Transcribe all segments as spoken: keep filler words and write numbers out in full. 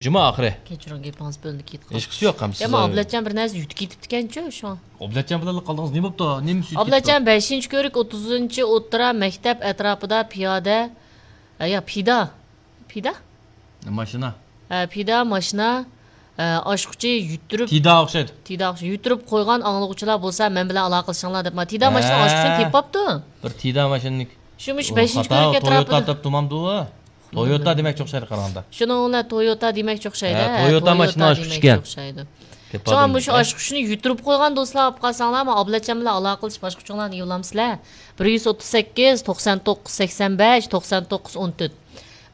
جۈمە ئاخىرى. كەچۈرۈڭ، گېپىڭىز بۆلۈنۈپ كېتىپ قالدى. ھېچقىسى يوق، ھەممىسى. يا، ئابلەتجان بىر نەرسە يۈتۈپ كېتىپتىكەنچۇ شۇڭا. ئابلەتجان بىلەنلا قالدىڭىز، نېمە بوپتۇ؟ نېمە ئۈستىگە ئابلەتجان كېتىپتۇ؟ بەشىنچى كۆرۈك، ئوتتۇزىنچى ئوتتۇرا مەكتەپ ئەتراپىدا پىيادە، ئە، يا، پىدا. پىدا؟ ماشىنا. ئە، پىدا، ماشىنا، ئە، ئاچقۇچى يۈتتۈرۈپ، تىدا ئوخشايدۇ. تىدا ئوخشايدۇ. يۈتتۈرۈپ قويغان ئاڭلىغۇچىلار بولسا مەن بىلەن ئالاقىلىشىڭلار دەپ، ما، تىدا ماشىنا ھە. ئاشۇ كۈنى تېپىپتۇ. بىر تىدا ماشىنىنىڭ. شۇ مۇشۇ بەشىنچى خاتا، كۆرۈك تويوتا ئەتراپىدا. دەپ تۇرمامدۇ ئۇ؟ تويوتا دېمەكچى ئوخشايدۇ قارىغاندا. شۇنىڭ بىلەن تويوتا دېمەكچى ئوخشايدۇ، ھە، ھە، تويوتا تويوتا ماشىنا ئاشقۇچى دېمەكچى ئىكەن. ئوخشايدۇ. شۇڭا مۇشۇ ئاشقۇچىنى يۈتتۈرۈپ قويغان دوستلار ئاپ قالساڭلار، ما ئابلەتجان بىلەن ئالاقىلىشىپ ئاشقۇچۇڭلارنى يوللامسىلەر. بىر يۈز ئوتتۇز سەككىز، توقسان توققۇز، سەكسەن بەش، توقسان توققۇز، ئون تۆت.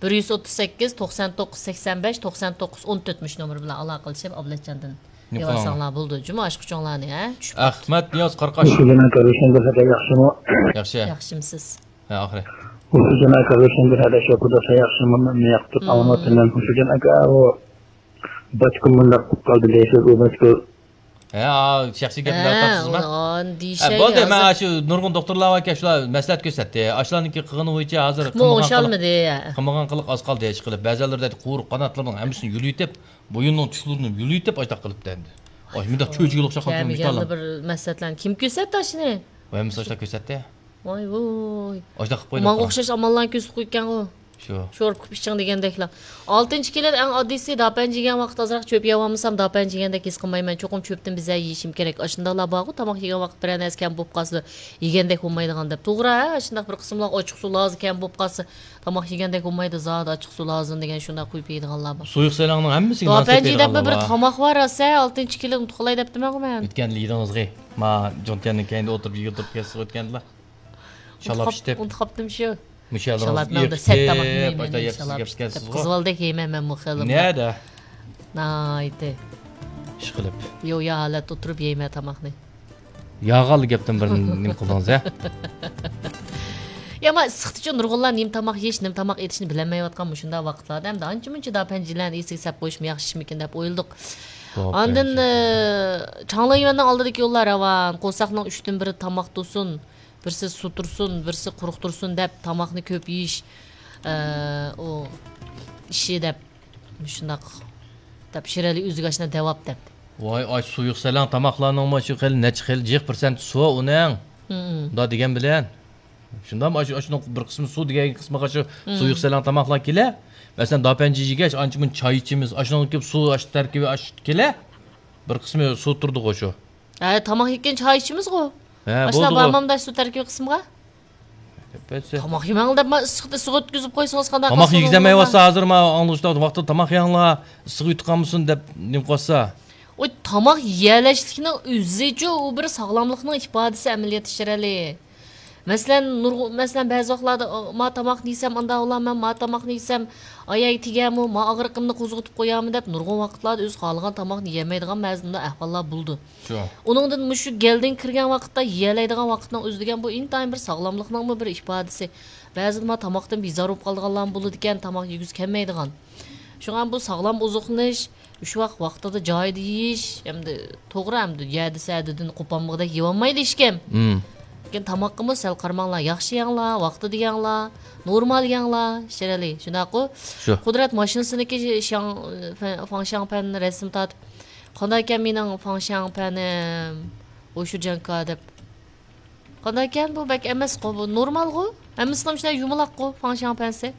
بىر يۈز ئوتتۇز سەككىز، توقسان توققۇز، سەكسەن بەش، توقسان توققۇز، ئون تۆت مۇشۇ نومۇر بىلەن ئالاقىلىشىپ ئابلەتجاندىن يوللىساڭلار بولىدۇ. جۇمۇ ئاشقۇچۇڭلارنى، ھە؟ چۈشۈپ قاپتۇ. ئەخمەت نىياز قاراقاش. ھۇسەيىن ئاكا، روشەن بىر خەتەر ياخشىمۇ؟ ياخشى. ياخشىمسىز؟ ھە، ئاخىرى. ھۇسەيىن ئاكا، روشەن بىر خەتەر شۇ قۇدا سەن ياخشىمۇ؟ مەن ياقتۇ ئاڭلاۋاتىمەن. ھۇسەيىن ئاكا، ئۇ باتكۇم مۇنداق قىلىپ قالدى دەيسىز، ئۇ باتكۇ. ھە، شەخسىي گەپنى دەۋاتامسىزما؟ ھە، بولدى، مەن شۇ نۇرغۇن دوختۇرلار باركەن، شۇلار مەسلىھەت كۆرسەتتى. ئاشۇلارنىڭكى قىلغىنى بويىچە ھازىر قىلمىغان قىلىق ئاز قالدى، ھېچ قىلىپ. بەزىلىرى دەيدۇ، قۇيرۇق قاناتلىرىنىڭ ھەممىسىنى يۆلىيىتىپ، بويۇننىڭ چۇسلىرىنى يۆلىيىتىپ، ئاشۇنداق قىلىپتۇ ئەمدى. ئاي، مۇنداق چۆچىگىگە ئوخشاپ قاپتۇ، كەمىگەندە بىر مەسلىھەتلەرنى كىم كۆرسەتتى ئاشۇنى؟ ھەممىسى ئاشۇنداق كۆرسەتتى. ۋاي ۋوي. ئاشۇنداق قىلىپ قويدۇم. ماڭا ئوخشاش ئاماللارنى كۆرسىتىپ قويۇپكەنغۇ. شۇ. شورۇپ كېلىپ ئىچىڭ دېگەندەكلا. ئالتىنچى كېلىن ئەڭ ئاددىيسى، داپەنجى يېگەن ۋاقىت ئازراق چۆپ يەۋالمىسام، داپەنجى يېگەندەك ھېس قىلمايمەن. چوقۇم چۆپتىن بىزە يېيىشىم كېرەك. ئاشۇنداقلار بارغۇ، تاماق يېگەن ۋاقىت بىرەر نەرسە كەم بولۇپ قالسا، يېگەندەك بولمايدىغان دەپ. توغرا، ھە، شۇنداق بىر قىسىملار ئاچچىقسۇ لازا كەم بولۇپ قالسا، تاماق يېگەندەك بولمايدۇ زادى، ئاچچىقسۇ لازىم دېگەن شۇنداق قويۇپ يەيدىغانلار بار. سۇيۇق سەلەڭنىڭ ھەممىسىگە ناسىپ دەيدىغانلار بار. داپەنجى دەپ بىر تاماق بار، راسا، ئالتىنچى كېلىن ئۇنتۇپ قالاي دەپتىمەنغۇ مەن. ئۆتكەندە يېدىڭىزغۇ. ما جونتيەننىڭ كەينىدە ئولتۇرۇپ يېگىلى تۇرۇپ كەتسىز ئۆتكەندىلا. شالاپ ئىشتەپ. ئۇنتۇپ قاپتىمشۇ. مۇشۇ يەردىڭىزگە ئېرىشىپ، ئاشۇنداق يەپسىز گەپسىز. قىزىۋالدەك يەيمەن مەنمۇ خېلى. نەدە؟ ناھايىتى. ئىشقىلىپ. يويا ھالەتتە ئولتۇرۇپ يەيمەن تاماقنى. ياغانلا گەپتىن بىر نېمە قىلدىڭىز، ھە؟ يا، ما ئىسسىقتىچۇ نۇرغۇنلار نېمە تاماق يېيىش، نېمە تاماق ئېتىشنى بىلەلمەيۋاتقان مۇشۇنداق ۋاقىتلاردا ئەمدى ئانچە-مۇنچە داپەنجىلەرنى ئېسىگە سەپ قويۇشمۇ ياخشىمىكىن دەپ ئويلىدۇق. ئاندىن، ئى، چاڭلىيۈەننىڭ ئالدىدىكى يوللار راۋان، قورساقنىڭ ئۈچتىن بىرى تاماق تۇرسۇن، بىرسى سۇ تۇرسۇن، بىرسى قۇرۇق تۇرسۇن دەپ تاماقنى كۆپ يېيىش، ئى، ئۇ ئىشى دەپ مۇشۇنداق دەپ شىرئەلى ئۆزىگە ئاشۇنداق دەۋاپ دەپ. ۋاي، ئاش سۇيۇق سەلەڭ تاماقلارنىڭمۇ شۇ خېلى نەچچە خىل جىق پىرسەنت سۇ ئۇنىڭ. مم. مۇنداق دېگەن بىلەن. شۇنداقمۇ ئاشۇ، ئاشۇنىڭ بىر قىسمى سۇ دېگەن قىسمىغا شۇ مم. سۇيۇق سەلەڭ تاماقلار كېلە. مەسىلەن، داپەنجى يېگەچ، ئانچە مۇنچە چاي ئىچىمىز، ئاشۇنىڭ كۆپ سۇ، ئاشۇ تەركىبى ئاشۇ كېلە. بىر قىسمى سۇ تۇرىدىغۇ شۇ. ھە، تاماق يەتكەن چاي ئىچىمىزغۇ. ھە، ئاشۇنداق بولدىغۇ. بارمامدا سۇ تەركىبى قىسمىغا؟ تاماق يېمەڭ دەپ، ما ئىسسىقتا ئىسسىق ئۆتكۈزۈپ قويسىڭىز قانداق قىلسىڭىز؟ تاماق يېگۈزەلمەيۋاتسا ھازىر، ما ئاڭلىغۇچىلار ۋاقتىدا تاماق يەڭلار، ئىسسىق يۇتۇپ قالمىسۇن دەپ نېمە قىلىۋاتسا. ئۇ تاماق يېيەلەشلىكنىڭ ئۆزىچۇ ئۇ بىر ساغلاملىقنىڭ ئىپادىسى ئەمەلىيەتتە شىرئەلى. مەسىلەن، نۇرغۇ-، مەسىلەن، بەزى ۋاقىتلاردا، ئا، ما تاماقنى يېسەم، ئانداق بولامەن، ما تاماقنى يېسەم، ئاياغ تېگەمۇ، ما ئاغرىقىمنى قوزغىتىپ قويامەن دەپ، نۇرغۇن ۋاقىتلاردا ئۆزى خالىغان تاماقنى يېيەلمەيدىغان بەزى مۇنداق ئەھۋاللار بولىدۇ. شۇ. ئۇنىڭدىن مۇشۇ گەلدىن كىرگەن ۋاقىتتا يېيەلەيدىغان ۋاقىتنىڭ ئۆزى دېگەن بۇ ئىنتايىن بىر ساغلاملىقنىڭمۇ بىر ئىپادىسى. بەزىدە ما تاماقتىن بىزار بولۇپ قالىدىغانلارمۇ بولىدىكەن، تاماق يېگۈسى كەلمەيدىغان. شۇڭا بۇ ساغلام ئوزۇقلىنىش، ئۈچ ۋاق ۋاقتىدا جايىدا يېيىش، ئەمدى توغرا، ئەمدى يەدە سەدىدىن قوپالمىغۇدەك يېيەلمەيدۇ ھېچكىم. مم. لېكىن تاماققىمۇ سەل قارىماڭلار، ياخشى يەڭلار، ۋاقتىدا يەڭلار، نورمال يەڭلار، شىرئەلى، شۇنداققۇ؟ شۇ. قۇدرەت ماشىنىسىنىڭكى شياڭ-، فەن-، فاڭشياڭپەن رەسىم تارتىپ، قانداق ئىكەن مېنىڭ فاڭشياڭپەنىم، ھوشۇجياڭكا دەپ. قانداقكەن بۇ؟ بەك ئەمەسقۇ بۇ، نورمالغۇ. ھەممىسىنىڭ شۇنداق يۇمىلاققۇ فاڭشياڭپەنسى.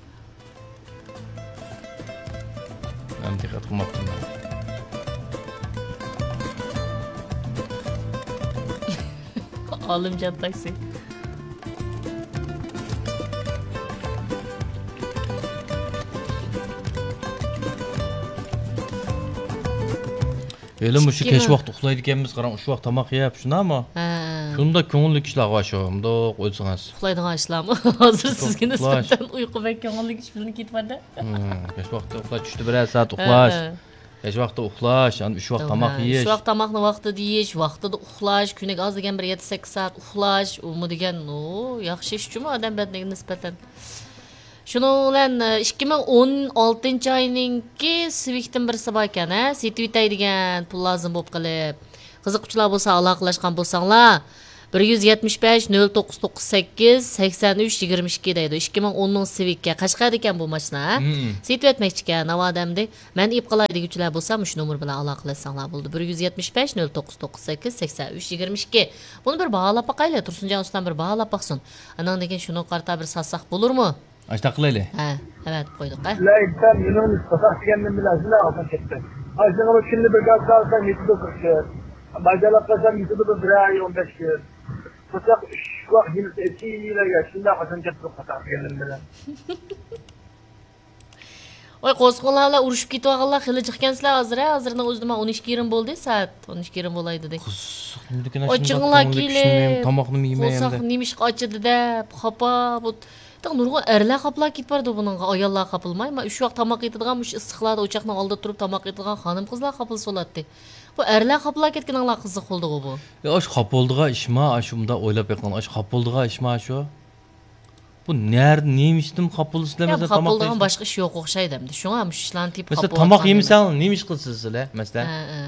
مەن دىققەت قىلماپتىمەن. ئالىمجان تاكسى. ھېلى مۇشۇ كەچ ۋاقتى ئۇخلايدىكەنمىز، قاراڭ، ئۈچ ۋاق تاماق يەپ، شۇنداقمۇ؟ ھە. شۇنداق كۆڭۈللۈك ئىشلارغۇ شۇ، مۇنداق ئويلىسىڭىز. ئۇخلايدىغان ئىشلارمۇ؟ ھازىر سىزگە نىسبەتەن ئۇيقۇ بەك كۆڭۈللۈك ئىش بىلىنىپ كېتىۋاتىدۇ. ھە، كەچ ۋاقتى ئۇخلاش، چۈشتە بىرەر سائەت ئۇخلاش. ھە، ھە. كەچ ۋاقتى ئۇخلاش، ئاندىن ئۈچ ۋاق تاماق يېيىش. ئۈچ ۋاق تاماقنى ۋاقتىدا يېيىش، ۋاقتىدا ئۇخلاش، كۈنىگە ئاز دېگەن بىر يەتتە سەككىز سائەت ئۇخلاش، ئۇمۇ دېگەن، ئۇ، ياخشى ئىشچۇمۇ ئادەم بەدىنىگە نىسبەتەن. شۇنىڭ بىلەن، ئىككى مىڭ ئون ئالتىنچى ئاينىڭكى سىۋىكتىن بىرسى باركەن، ھە، سېتىۋېتەي دېگەن پۇل لازىم بولۇپ قېلىپ. قىزىققۇچىلار بولسا، ئالاقىلەشكەن بولساڭلار، بىر يۈز يەتمىش بەش، نۆل توققۇز توققۇز سەككىز، سەكسەن ئۈچ، يىگىرمە ئىككى دەيدۇ. ئىككى مىڭ ئوننىڭ سىۋىككە. قەشقەردىكەن بۇ ماشىنا. مم. سېتىۋەتمەكچىكەن، ناۋادا ئەمدى. مەن ئېلىپ قالاي دېگۈچىلەر بولسا، مۇشۇ نومۇر بىلەن ئالاقىلەشسەڭلار بولىدۇ. بىر يۈز يەتمىش بەش، نۆل توققۇز توققۇز سەككىز، سەكسەن ئۈچ، يىگىرمە ئىككى. بۇنى بىر باھالاپ باقايلى، تۇرسۇنجان ئۇستام بىر باھالاپ باقسۇن. ئاندىن كېيىن شۇنىڭغا قارىتا بىر ساتساق بولۇرمۇ؟ ئاشۇنداق قىلايلى. ھە، ئەۋەتىپ قويدۇق، ھە. لا، ئىنسان يېنىڭ قورساق دېگەندىن بىلەن ئاشۇنداق ئاغزىنى كەتتى. ئاشۇنىڭغا كۈندە بىر گاز ئالسا يېتىدۇ بىر كۈن. باجالاپ قالسام يېتىدۇ بىر ئاي، ئون بەش كۈن. قورساق ئۈچ ۋاق يىلدا ئېچىلىۋېرگەن، شۇنداق ئاغزىنى كەتتى قورساق دېگەندىن بىلەن. ۋاي، قوزغىلاڭلار ئۇرۇشۇپ كېتىۋالغانلار خېلى جىقكەنسىلەر ھازىر، ھە؟ ھازىرنىڭ ئۆزىدە مانا ئون ئىككى يېرىم بولدى، سائەت ئون ئىككى يېرىم بولاي دېدى. قورساقنى ئاچىدى دەپ، تاماقنىمۇ يېمەي قورساق ئەمدى. نېمىشقا ئاچىدى دەپ، خاپا. بۇ، تېخى نۇرغۇن ئەرلەر خاپىلا كېتىپ بارىدۇ بۇنىڭغا، ئاياللار خاپىلىماي. ما، ئۈچ ۋاق تاماق يېتىدىغان مۇشۇ ئىسسىقلاردا ئوچاقنىڭ ئالدىدا تۇرۇپ تاماق يەيدىغان خانىم-قىزلار خاپىلا سولاتتى. بۇ ئەرلەر خاپىلا كەتكىنىڭلار قىزىق بولدىغۇ بۇ. ئە، ئاشۇ خاپا بولىدىغان ئىشما، ئاشۇ مۇنداق ئويلاپ بېقىڭ، ئاشۇ خاپا بولىدىغان ئىشما ئاشۇ؟ بۇ نەدە، نېمە ئىشتىن خاپا بولىسىلەر؟ يا، مەسىلەن، خاپا تاماق بولىدىغان يېسە- باشقا ئىش يوق ئوخشايدۇ ئەمدى. شۇڭا مۇشۇ ئىشلارنى تېپىپ مەسىلەن، خاپا تاماق بولۇۋاتقان يېمىسەڭ، دېمەڭ. نېمە ئىش قىلىسىلەر، مەسىلەن؟ ھە، ھە.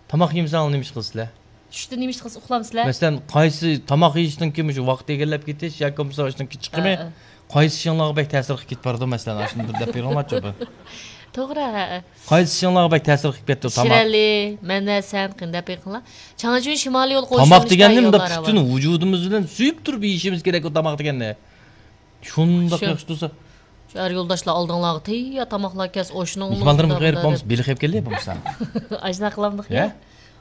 تاماق يېمىسەڭ، نېمە ئىش قىلىسىلەر؟ چۈشتە نېمە ئىش قىلسا ئۇخلامسىلەر؟ مەسىلەن، قايسى تاماق يېيىشتىن كېيىن مۇشۇ ۋاقىت ئىگىلەپ كېتىش ياكى بولمىسا ئاشتىن كېيىن چىقىمى، ھە، ھە. قايسى ئىشىڭلارغا بەك تەسىر قىلىپ كېتىپ بارىدۇ، مەسىلەن، ئاشۇنى بىر دەپ بېرىڭلارچۇ بىر. توغرا، ھە، ھە. قايسى ئىشىڭلارغا بەك تەسىر قىلىپ كەتتى تاماق؟ شىرەلى، مەن ۋە سەن قېنى دەپ بېقىڭلار. چاڭجۈن شىمالىي يول قوشۇنى تاماق دېگەننى مۇنداق پۈتۈن ۋۇجۇدىمىز بىلەن سۆيۈپ تۇرۇپ يېيىشىمىز كېرەك ئۇ تاماق دېگەننى. شۇنداق شۇ. ياخشى تۇرسا. شۇ ئەر يولداشلار ئالدىڭلارغا تەييار تاماقلار كەلسە، ئاشۇنىڭ مېھمانلىرىمغا قېرىپ بولمىسا، بېلىق يەپ كەلدى بولمىسا. ئاشۇنداق قىلامدۇق يا؟ ھە؟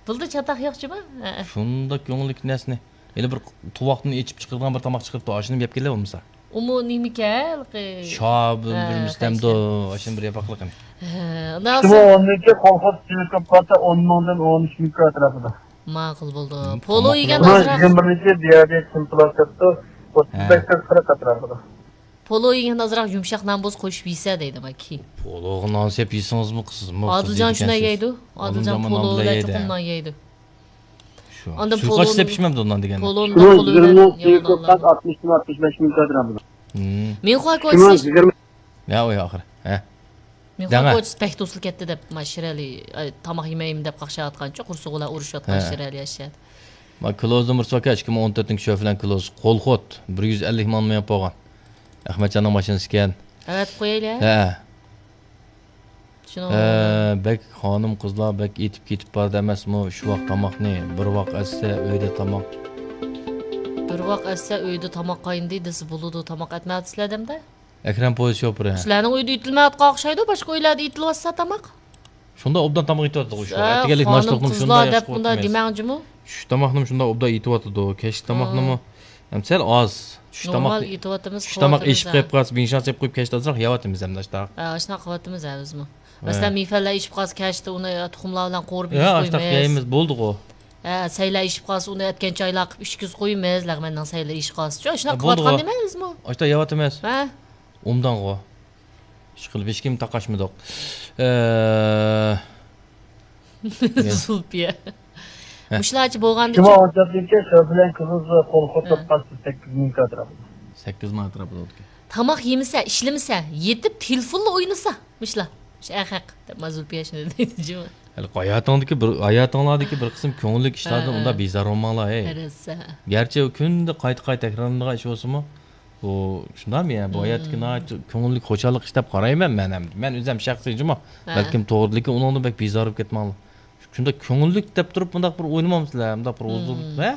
بۇلدا چاتاق يوق جۇما؟ ھە. شۇنداق كۆڭۈللۈك نەرسىنى. ھېلى بىر تۇۋاقتىن ئېچىپ چىقىرىدىغان بىر تاماق چىقىرىپتۇ، ئاشۇنى يەپ كەلدى بولمىسا. ئۇمۇ نېمىكەن ھېلىقى؟ شابىل ھە، بىر مىستەمدۇ، ئاشۇنى بىر ياپاقلىقىنى. ھە، ئۇنىڭ ئىككى مىڭ ئون ئىككى كولخوز تېلېكومپانىيە ئون مىڭدىن ئون ئۈچ مىڭ كاتراپىدا. ماقۇل بولدى. مم، پولو يېگەن ئازراق. يىگىرمە بىرىنچى دىيابېت سىمپلاتېپتو، ئوتتۇز بەش، قىرىق ئەتراپىدا. پولو يېگەن ئازراق يۇمشاق نان بولسا قوشۇپ يېسە دەيدۇ ماكى. پولوغا نان سېلىپ يېسىڭىزمۇ قىزىمۇ، ئادىلجان شۇنداق يەيدۇ. ئادىلجان پولو بىلەن چوقۇم نان يەيدۇ. شۇ. ئاندىن سۇيقاش سېلىپ ئىچمەمدۇ نان دېگەندە. پولونى قولى بىلەن يەۋالغانلار. مىنخۇا كوچىسى. ھە، ئۇ ئاخىرى. ھە. مىنخۇا كوچىسى بەك توسۇلۇپ كەتتى دەپ، ما شىرەلى، ئاي، تاماق يېمەيمەن دەپ قاقشاۋاتقانچۇ، قورسىقى بىلەن ئۇرۇشۇۋاتقان شىرەلى ياشايدۇ. ما كلوزدىن بىر سوكا، ئىككى مىڭ ئون تۆتىنچى شۆفىلەن كلوز، قولخوت، بىر يۈز ئەللىك مىڭ مېڭىپ بولغان. ئەخمەتجاننىڭ ماشىنىسى ئىكەن. ئەۋەتىپ قويايلى. ھە. شۇنىڭ ھە، بەك خانىم قىزلار بەك ئېتىپ كېتىپ بارىدۇ ئەمەسمۇ؟ شۇ ۋاق تاماقنى بىر ۋاق ئەتسە ئۆيدە تاماق. بىر ۋاق ئەتسە ئۆيدە تاماق قاينىدى دېسە بولىدۇ، تاماق ئەتمەيۋاتىسىلەر دەمدە. ئەكرەم پويىز شوپۇرى. سىلەرنىڭ ئۆيدە ئېتىلمەيۋاتقان ئوخشايدۇ، باشقا ئۆيلەردە ئېتىلىۋاتسا تاماق. شۇنداق ئوبدان تاماق ئېتىۋاتىدۇ شۇ. ھە، ئەتىگەنلىك خانىم ناشتىلىقنىمۇ قىزلار شۇنداق دەپ ياخشى بۇنداق قىلىۋاتىمىز. دېمەڭ جۇمۇ. چۈش تاماقنىمۇ شۇنداق ئوبدان ئېتىۋاتىدۇ. كەچلىك تاماقنىمۇ ھەم سەل ئاز. چۈش تاماق، نورمال ئېتىۋاتىمىز، چۈش تاماق قىلىۋاتىمىز ئېشىپ ھە. قېلىپ قالسا، بىڭشان سېلىپ قويۇپ كەچتە ئازراق يەۋاتىمىز ھەم ناشتا. ھە، ئاشۇنداق قىلىۋاتىمىز ھە بىزمۇ. ھە. مەسىلەن، مېيفەنلەر ئېشىپ قالسا كەچتە ئۇنى تۇخۇملار بىلەن قورۇپ ھە، يېيىش ئاشۇنداق قويىمىز. يەيمىز، بولدىغۇ. ھە، سەيلە ئېشىپ قالسا ئۇنى ئەتكەن چايلار قىلىپ ئىچكۈزۈپ قويىمىز، لەغمەننىڭ سەيلە ئېشىپ قالسا. شۇ، ئاشۇنداق ھە، بولدىغۇ. قىلىۋاتقان نېمە بىزمۇ؟ ئاشۇنداق يەۋاتىمىز. ھە. ئوبدانغۇ. ئىشقىلىپ ھېچكىم تاقاشمىدۇق. ئە، زۇلپىيە. ھە. مۇشۇلارچە بولغاندىكىن. شۇڭا ئوچاقتىكى شۇ بىلەن قىزىل قول ھە. قوتۇرۇپ قالسا سەككىز مىڭ ئەتراپىدا. سەككىز مىڭ ئەتراپىدا ئوتكەن. تاماق يېمىسە، ئىشلىمىسە، يېتىپ تېلېفونلا ئوينىسا، مۇشۇلار. مۇشۇ ئەخەق دەپ ما زۇلپىيە شۇنى دەيدۇ جۇمۇ. ھېلىقى ھاياتىڭدىكى بىر، ھاياتىڭلاردىكى بىر قىسىم كۆڭۈللۈك ئىشلاردىن ھە، ئۇنداق ھە. بىزار بولماڭلار، ھەي. ھە، راست، ھە. گەرچە ئۇ كۈندە قايتا قايتا تەكرارلىنىدىغان ئىش بولسىمۇ، بۇ شۇنداقمۇ يا؟ بۇ ھاياتتىكى مم. ناھايىتى كۆڭۈللۈك، خۇشاللىق ئىش دەپ قارايمەن مەن ئەمدى. مەن ئۆزۈم شەخسىي جۇمۇ. ھە. بەلكىم توغرا، لېكىن ئۇنىڭدىن بەك بىزار بولۇپ كەتمەڭلار. شۇنداق كۆڭۈللۈك دەپ تۇرۇپ، مۇنداق بىر ئوينىمامسىلەر، مۇنداق بىر ھۇزۇرلۇق، مم. ھە؟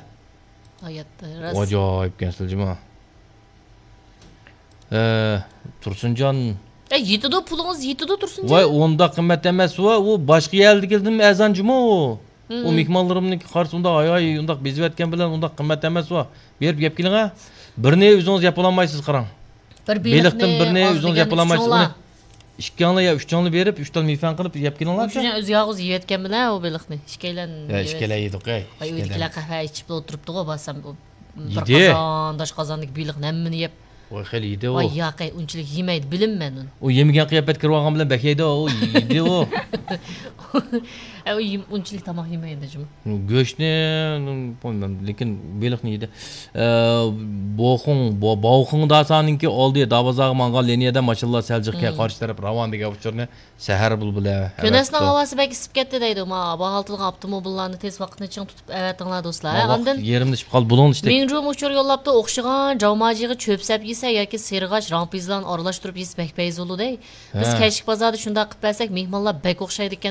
ھاياتتا راست. ئاجايىپ ئىكەنسىلەر جۇمۇ. ئە، تۇرسۇنجان. ئە، يېتىدۇ، پۇلىڭىز يېتىدۇ، تۇرسۇنجان. ۋاي، ئۇنداق قىممەت ئەمەس، ۋا، ئۇ باشقا يەردىكىدىن ئەرزان جۇمۇ. ھىم. ئۇ مېھمانلىرىمنىڭكى قارىسا ئۇنداق، ھاي، ھاي، ئۇنداق بېزىۋەتكەن بىلەن ئۇنداق قىممەت ئەمەس ئۇ. بېرىپ يەپ كېلىڭە. بىرنى ئۆزىڭىز يەپ بولالمايسىز، قاراڭ. بىر بېلىقتىن بېلىقنى بىرنى ئاز ئۆزىڭىز يەپ بولغاندا بولالمايسىز. ئۈچىڭلار. ئۇنى ئىككىڭلار يا ئۈچىڭلار بېرىپ، ئۈچ تال مېيفەن قىلىپ يەپ كېلىڭلارچۇ. ئۇچىنى ئۆزى يالغۇز يېۋەتكەن بىلەن ئۇ بېلىقنى. ئىككىيلەن يا، يېۋەت-، ئىككىيلەن يېدۇق، ئەي، ئاي، ئىككىيلەن. ئۆيدىكىلەر قەھۋە ئىچىپلا ئولتۇرۇپتىغۇ، بارسام، ئۇ بىر يېدى. قازان، داش قازاندىكى بېلىقنى ھەممىنى يەپ. ۋاي، خېلى يېدى ئۇ. ۋاي، ياقەي، ئۇنچىلىك يېمەيدۇ، بىلىمەن ئۇنى. ئۇ يېمىگەن قىياپەتكە كىرىۋالغان بىلەن بەك يەيدۇ، ئۇ يېدى ئۇ. ئە، ئۇ يېم-، ئۇنچىلىك تاماق يېمەيدۇ جۇمۇ. گۆشنى، لېكىن بېلىقنى يېدى. ئە، بوخۇڭ، بو-، بوخۇڭ داسانىڭكى ئالدى، دابازاغا ماڭغان لىنىيەدە ماشىنىلار سەل جىق كەل، قارشى تەرەپ راۋان دېگەن ئۇچۇرنى سەھەر بۇلبۇلى. كۈنەسنىڭ ھاۋاسى بەك ئىسسىپ كەتتى دەيدۇ. ما، بۇ ھالتىلغان ئاپتوموبىللارنى تېز ۋاقىتنى چىڭ تۇتۇپ ئەۋەتىڭلار دوستلار. ئاندىن يېرىمدە ئىشىپ قالدى، بۇلۇڭ ئىشتەك. مىڭجۇمۇ ئۇچۇر يوللاپتۇ، ئوخشىغان جاۋماجىغا چۆپ سەپ يېسە ياكى سېرىغاچ، رامپىزلارنى ئارىلاشتۇرۇپ يېسە بەك پەيزى بولىدۇ دەي. بىز كەچلىك بازاردا شۇنداق قىلىپ بەرسەك، مېھمانلار بەك ئوخشايدىكەن